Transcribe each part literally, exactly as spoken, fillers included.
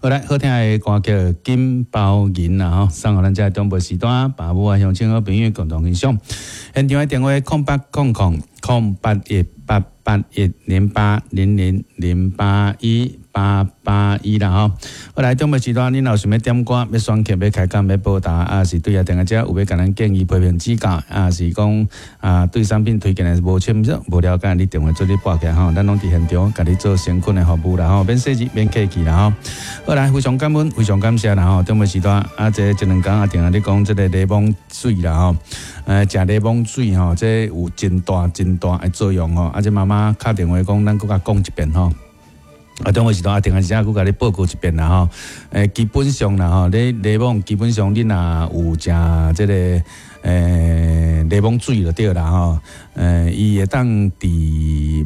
好來，好聽的歌曲《金包銀》啦吼，送予咱遮中部時段爸母啊鄉親好朋友共同欣賞。現場的電話空八空空空八一八八一零八零零零八一八八一啦吼。好來，中部時段，你若有想欲點歌、欲選曲、欲開講、欲報答，啊是對啊，電話遮有欲共咱建議、批評指教，啊是講啊對產品推薦的無清楚、無了解，你電話做你撥起來吼，咱攏佇現場共你做誠懇的服務啦吼，免細緻、免客氣啦吼。好來，非常感恩，非常感謝啦吼。中部時段啊，這這兩工啊，定咧講這個檸檬水啦吼，呃，食檸檬水吼，這有真大真大的作用吼。啊，這媽媽敲電話講，咱閣共講一遍吼。啊，中午時段啊，定係時閣共你報告一遍啦吼。欸，基本上啦吼，你檸檬基本上你若有食這個欸檸檬水就對啦吼。欸，伊會當治，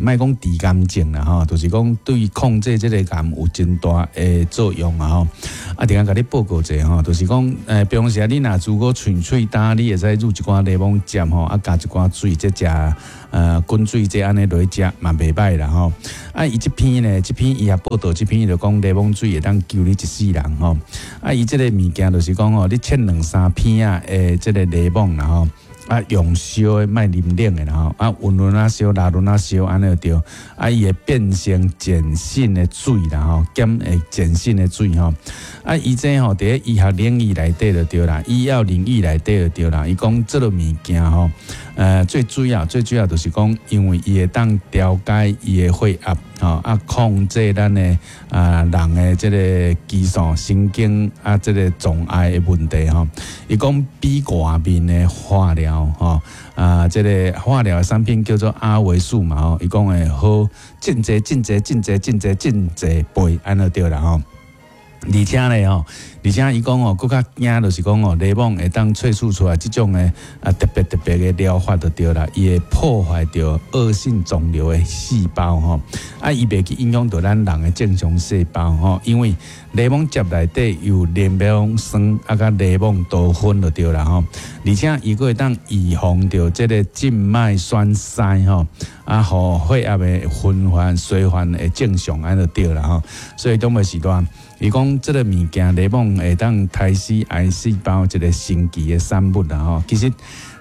莫講治癌症啦吼，就是講對控制這個癌有真大的作用啊吼。啊，定共你報告者吼，就是講，欸，平常時你若如果喙喙焦，你會使滷一寡檸檬汁吼，啊，加一寡水，這食呃滾水這按呢落去食嘛袂䆀啦吼。啊，伊這篇呢，這篇伊也報道，這篇就講檸檬水會當救你一世人吼。啊，伊這個物件就是講吼，你切兩三片仔的這個檸檬啦吼。啊，用燒的，莫啉冷的啦吼。啊，溫溫仔燒，熱熱仔燒，按呢就對。啊，伊會變成鹼性的水啦吼，減會鹼性的水吼。啊，伊這吼佇咧醫學領域內底就對啦，醫藥領域內底就對啦。伊講這個物件吼，呃，最主要最主要就是講，因為伊會當調解伊的血壓，吼啊，控制咱的啊人的這個激素、神經啊，這個阻礙的問題吼。伊講比外面的化療吼啊，這個化療的產品叫做阿維素嘛吼，伊講會好真濟真濟真濟真濟真濟倍，按呢對啦吼。而且咧吼，而且伊講吼，閣較驚就是講吼，檸檬會當萃取出來這種的啊特別特別的療法就對啦，伊會破壞著惡性腫瘤的細胞吼，啊，伊袂去影響著咱人的正常細胞吼，因為檸檬汁內底有檸檬酸啊，佮檸檬多酚就對啦吼，而且伊閣會當預防著這個靜脈栓塞吼，啊，予血壓的循環循環會正常按呢就對啦吼，所以當個時段，伊講這個物件檸檬會當殺死癌細胞一個神奇的產物啦吼。其實，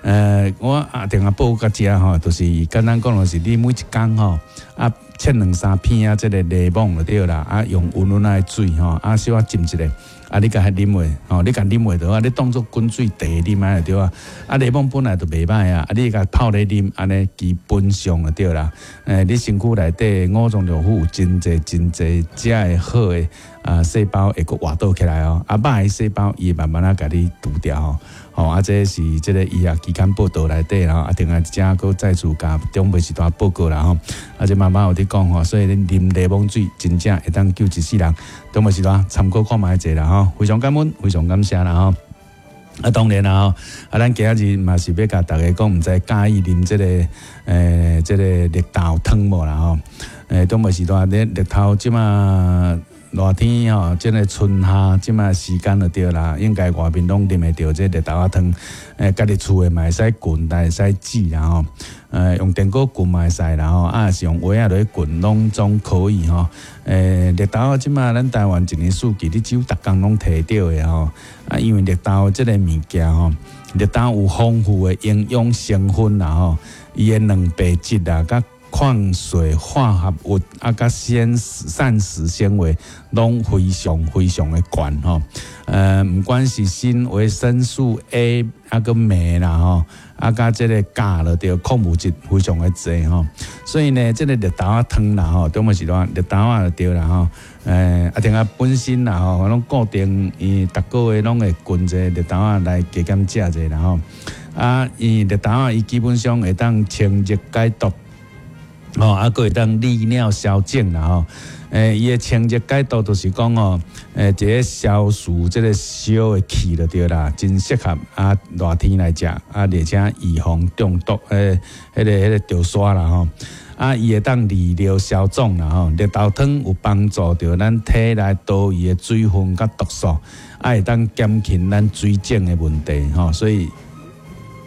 呃，我啊定下報到遮吼，就是簡單講，就是你每一工吼，啊切兩三片啊，這個檸檬就對啦，啊用溫溫的水吼，啊小可浸一下，啊你共彼啉落，吼，你共啉落就好，你當做滾水茶啉按呢就對啊。啊檸檬本來就袂䆀啊，啊你共泡咧啉，按呢基本上就對啦。欸，你身軀內底五臟六腑有真濟真濟遮的好的啊細胞會閣活動起來哦，啊歹的細胞伊會慢慢仔共你除掉吼。吼，啊這是這個醫學期刊報導內底吼，啊另外一隻閣再次共長輩時段報告啦吼。啊這媽媽有佇講吼，所以恁啉檸檬水真正會當救一世人。長輩時段參考看覓者啦吼，非常感恩，非常感謝啦吼。啊，當然啦吼，啊，咱今仔日嘛是欲共大家講，毋知佮意啉這個，欸，這個綠豆湯無啦吼？欸，長輩時段咧綠豆這馬熱天吼，這個春夏這馬時間就對啦，應該外面攏啉會著這綠豆仔湯。欸，家己厝的嘛會使滾，會使煮啦吼。呃，用電鍋滾嘛會使啦吼，啊是用鍋仔落去滾，攏總可以吼。欸，綠豆仔這馬咱台灣一年四季，你幾乎逐工攏提著的吼。啊，因為綠豆這個物件吼，綠豆有豐富的營養成分啦吼，伊的蛋白質啊，佮礦水化合物啊，佮纖膳食纖維攏非常非常的懸吼。呃，毋管是鋅、維生素 A 啊，佮鎂啦吼，啊，佮這個鉀就對，礦物質非常的濟吼。所以呢，這個綠豆仔湯啦吼，中午是話綠豆仔就對啦吼。欸，啊，另外本身啦吼，攏固定伊逐個月攏會滾一個綠豆仔來加減食者啦吼。啊，伊綠豆仔伊基本上會當清熱解毒。吼，啊，閣會當利尿消腫啦吼。欸，伊的清熱解毒就是講吼，欸，一個消除這個燒的氣就對啦，真適合啊熱天來食，啊，而且預防中毒，欸，彼個彼個著沙啦吼。啊，伊會當利尿消腫啦吼。綠豆湯有幫助著咱體內多餘的水分佮毒素，啊，會當減輕咱水腫的問題吼。所以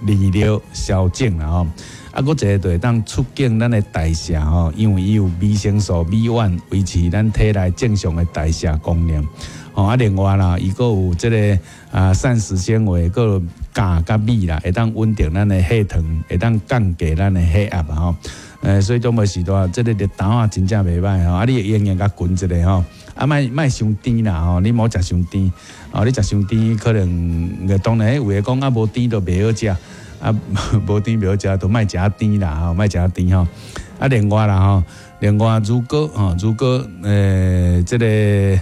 利尿消腫啦吼。啊，閣一个就會當促進咱的代謝吼，因為伊有維生素 B one 維持咱體內正常的代謝功能。吼，啊，另外啦，伊閣有這个啊膳食纖維，閣有鉀佮鎂啦，會當穩定咱的血糖，會當降低咱的血壓吼。呃，所以長輩時代，這个綠豆仔真正袂䆀吼，啊，你會用用共滾一下吼，啊，莫莫傷甜啦吼，你莫食傷甜，哦，你食傷甜可能，當然有的講啊，無甜就袂好食，啊，無甜袂好食，就莫食甜啦吼，莫食甜吼。啊，另外啦吼，另外如果吼，如果呃，這个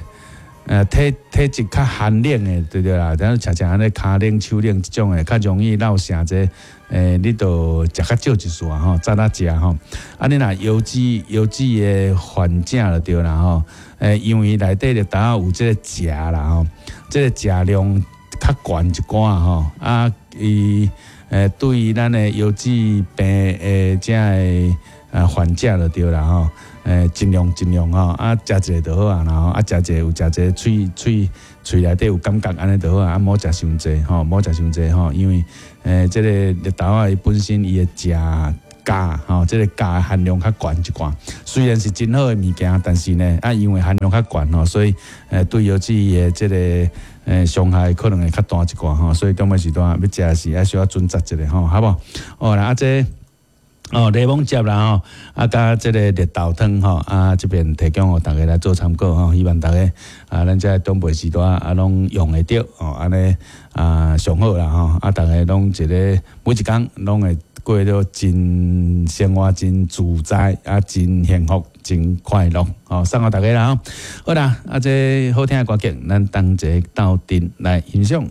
呃體體質較寒冷的，對對啦，但是常常按呢跤冷手冷這種的，較容易落癬這。欸，你就食較少一絲吼，早仔食吼。啊，你若腰子腰子的患者就對啦吼。欸，因為內底綠豆仔有這个鉀啦吼，這个鉀量較懸一寡吼。啊，伊欸對於咱的腰子病的這个呃患者就對啦吼。欸，盡量盡量吼，啊，食一个就好啊，然後啊，食一个有食一个喙喙喙內底有感覺按呢就好啊，啊，莫食傷濟吼，莫食傷濟吼，因為欸，這个綠豆仔伊本身伊的鉀鉀吼，這个鉀含量較懸一寡，雖然是真好的物件，但是呢，啊，因為含量較懸吼，所以欸對腰子的這个欸傷害可能會較大一寡吼，所以長輩時段欲食時愛小可準則一下吼，好無？哦啦，啊這。哦，檸檬汁啦吼，啊，佮這个綠豆湯吼，啊，這邊提供予大家來做參考吼，希望大家啊，咱這長輩時代啊，攏用會著吼，按呢啊上好啦吼，啊，逐家攏一个每一工攏會過得真生活真自在啊，真幸福，真快樂，吼，送予大家啦吼。好啦，啊，這好聽的歌曲，咱同齊鬥陣來欣賞。